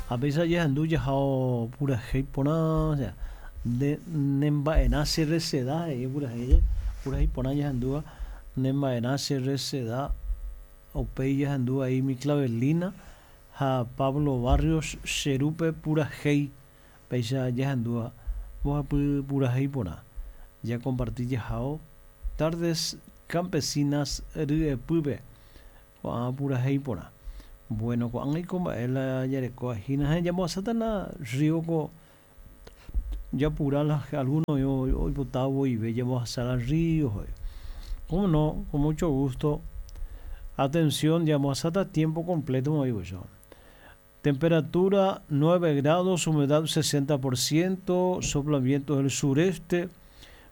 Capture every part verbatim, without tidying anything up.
Ha péicha jahendu jahao purahéi porã, o sea, nde nemba'erã che reseda he'i purahéi purahéi porã jahendúva nemba'erã che reseda upéi jahendu ahí mi clavelina ha Pablo Barrios che rúpe purahéi péicha jahendúva mbohapy purahéi porã jakomparti jahao Tardes Campesinas ryepýpe ko'ã purahéi porã. Bueno, ko'ág̃a mba'e la jarekóva hína ha jambohasátana río ko japura la alguno oipota voive jambohasa la río. Cómo no, con mucho gusto. Atención, jambohasáta tiempo completo oĩvo. Temperatura nueve grados, humedad sesenta por ciento, sopla vientos del sureste,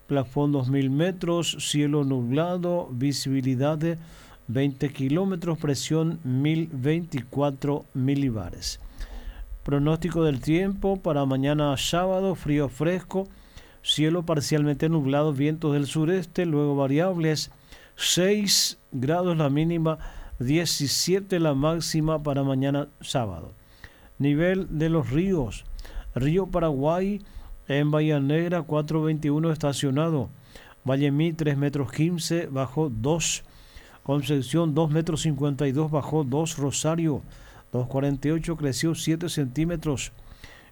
plafón dos mil metros, cielo nublado, visibilidad de veinte kilómetros, presión mil veinticuatro milibares. Pronóstico del tiempo para mañana sábado: frío fresco, cielo parcialmente nublado, vientos del sureste, luego variables, seis grados la mínima, diecisiete la máxima para mañana sábado. Nivel de los ríos: Río Paraguay en Bahía Negra cuatro veintiuno estacionado, Vallemí tres metros quince, bajó dos, Concepción dos metros cincuenta y dos, bajó dos, Rosario dos cuarenta y ocho, creció siete centímetros,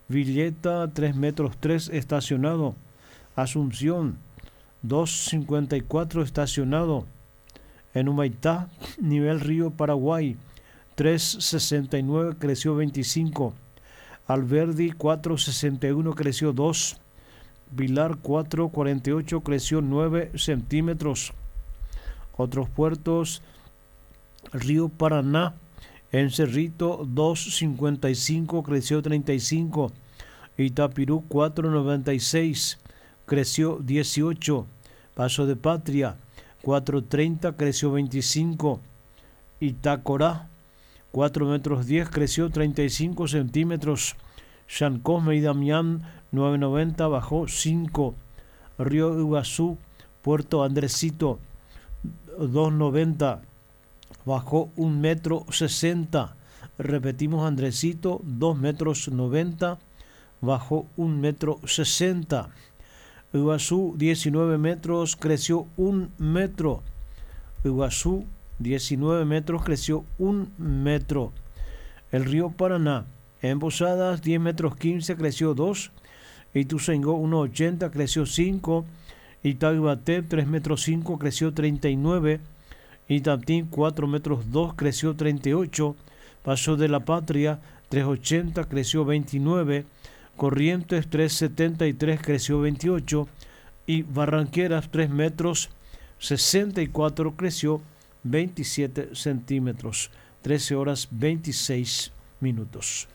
Villeta tres metros tres estacionado, Asunción dos cincuenta y cuatro estacionado, en Humaitá, nivel Río Paraguay tres sesenta y nueve, creció veinticinco, Alberdi cuatro sesenta y uno, creció dos, Pilar cuatro cuarenta y ocho, creció nueve centímetros. Otros puertos: Río Paraná, en Cerrito dos cincuenta y cinco, creció treinta y cinco, Itapirú cuatro noventa y seis, creció dieciocho, Paso de Patria cuatro treinta, creció veinticinco, Itacorá cuatro metros diez, creció treinta y cinco centímetros, San Cosme y Damián nueve noventa, bajó cinco, Río Iguazú, Puerto Andresito dos noventa, bajó un metro sesenta. Repetimos, Andresito dos metros noventa, bajó un metro sesenta. Iguazú diecinueve metros, creció un metro. Iguazú diecinueve metros, creció un metro. El río Paraná, en Posadas diez metros quince, creció dos. Ituzaingó uno ochenta, creció cinco. Itá Yvate tres metros cinco, creció treinta y nueve. Itatí cuatro metros dos, creció treinta y ocho. Paso de la Patria tres ochenta, creció veintinueve. Corrientes tres setenta y tres, creció veintiocho. Y Barranqueras tres metros sesenta y cuatro, creció veintisiete centímetros. trece horas veintiséis minutos.